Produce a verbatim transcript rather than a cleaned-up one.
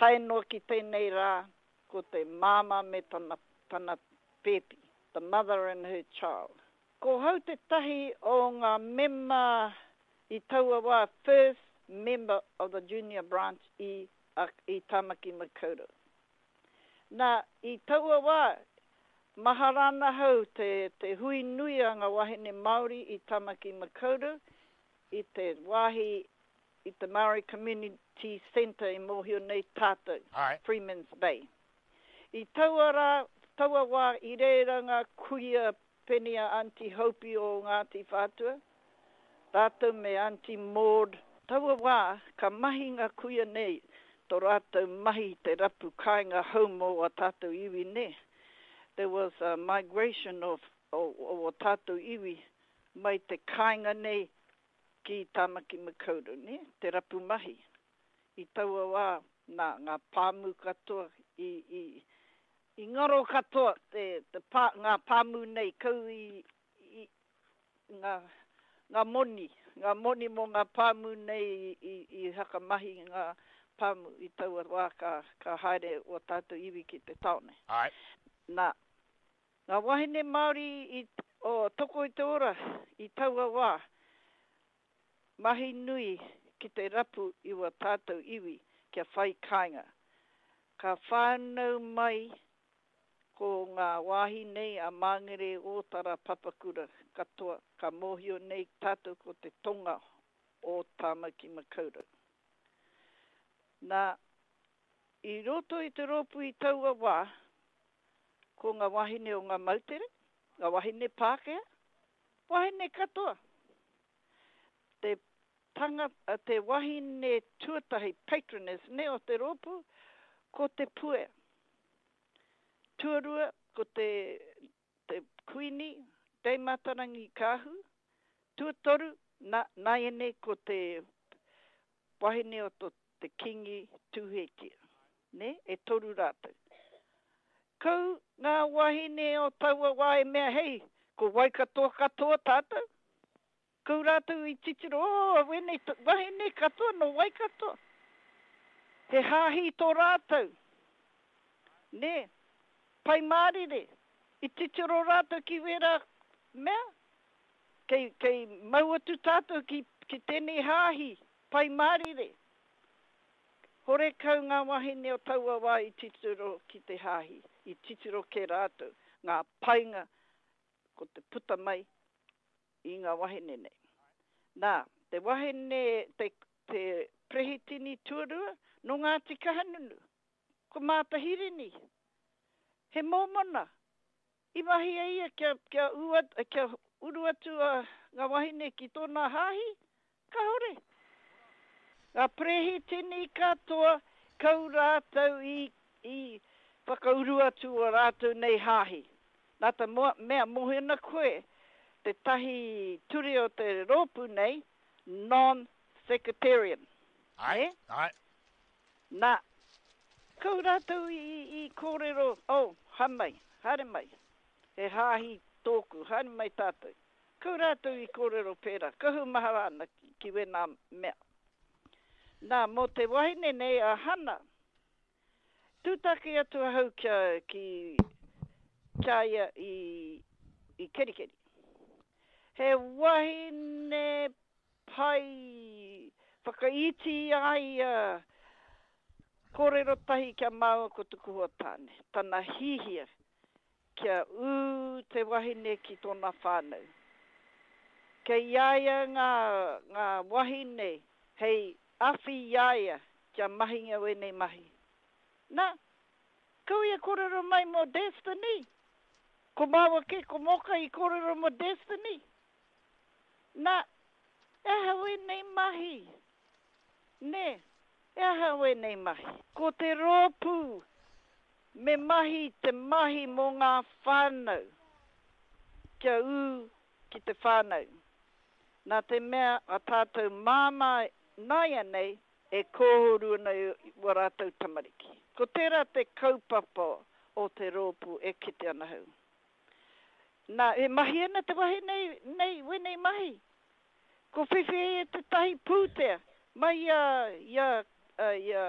Tae noa ki tēnei rā, ko te māmā me tana, tana pēpi, the mother and her child. Ko hau tētahi o ngā mema i taua wā, first member of the junior branch i, i Tamaki Makaurau. Nā, i taua wā, mahara ana hau te, te hui nui a ngā wahine Māori i Tamaki Makaurau i te wāhi i te Māori Community Centre i mōhio nei tātou, Ai. Freeman's Bay. I taua rā, taua wā i reira ngā kuia pēnei a Aunty Hopi o Ngāti Whātua, rātou me Aunty Maud. Taua wā, ka mahi ngā kuia nei, tō rātou mahi te rapu kāinga hou mō a tātou iwi ne. There was a migration of, o, o, o tātou iwi mai te kāinga nei ki Tamaki Makaurau, ne? Te rapu mahi. I taua wā, nā, ngā pāmu katoa i, i, i ngaro katoa te, te pā, ngā pāmu nei kau i, i ngā, ngā moni, ngā moni mō ngā pāmu nei i, i, i hakamahi ngā pāmu i taua wā ka, ka haere o tātou iwi ki te taone. Ai. Nā, ngā wahine Māori i, o Toko i te Ora i taua wā, mahi nui ki te rapu i wa tātou iwi kia whai kāinga. Ka whānau mai ko ngā wāhi nei a Māngere, Ōtara, Papakura katoa, ka mōhio nei tātou ko te tonga o Tāmaki Makaurau. Nā, i roto i te rōpū i taua wā, ko ngā wahine o ngā moutere, ngā wahine Pākehā, wahine katoa. Te tanga, te wahine tuatahi patroness ne o te rōpū, ko te Puea. Tuarua, ko te, te Kuini, Dame Matarangi Kāhu. Tuatoru, na, nāianei ko te wahine o to, te Kingi Tūheitia. Ne? E toru rātou. Kau ngā wahine o taua wā e mea, hei, ko Waikato katoa tātou. Kau rātou i titiro, oh, wēnei wahine katoa no Waikato. He hāhi tō rātou. Ne? Pai mārire. I titiro rātou ki wērā mea. Kei, kei mau atu tātou ki, ki tēnei hāhi, pai mārire. Hore kau ngā wahine o taua wā i titiro ki te hāhi, i titiro ke rātou, ngā painga ko te puta mai i ngā wahine nei. Nā, te wahine, te, te prehitini tuarua, no Ngāti Kahungunu, ko Māta Hirini. He mōmona. I mahi e ia kia, kia, ua, kia uru atu a ngā wahine ki tōna hāhi, kahore. Ngā prehitini katoa, kau rātou i, i whakauru atu o rātou nei hāhi. Nā te moa, mea mōhio ana koe, te tahi ture o te rōpū nei, non-sectarian. Ai, Ne? ai. Nā, kau rātou i, i kōrero, oh, hamai, haere mai, he hāhi tōku, haere mai tātou. Kau rātou i kōrero pērā, kahu mahara ana ki, ki wēnā mea. Nā, mō te wahine nei a Hana, tūtaki atu ahau kia, ki, kia ia i, i Kerikeri. He wahine pai whakaiti ai a kōrero tahi kia māua ko tuku hoa tāne. Tana hihia kia ū te wahine ki tōna whānau. Kei ia ia ngā, ngā wahine hei awhi i a ia kia mahinga wēnei mahi. Nā, kau ia kōrero mai mō Destiny. Ko māua ke, ko Moka i kōrero mō Destiny. Nā, e aha wēnei mahi. Nē, e aha wēnei mahi. Ko te rōpū me mahi te mahi mō ngā whānau. Kia ū ki te whānau. Nā te mea a tātou māmā nāianei e kōhuru ana i wa rātou tamariki. Ko tērā te kaupapa o te rōpū e kite ana hau. Nā, e mahi ana te wahine nei, wēnei mahi. Ko whiwhi e te tahi pūtea, mai ia, ia, ia,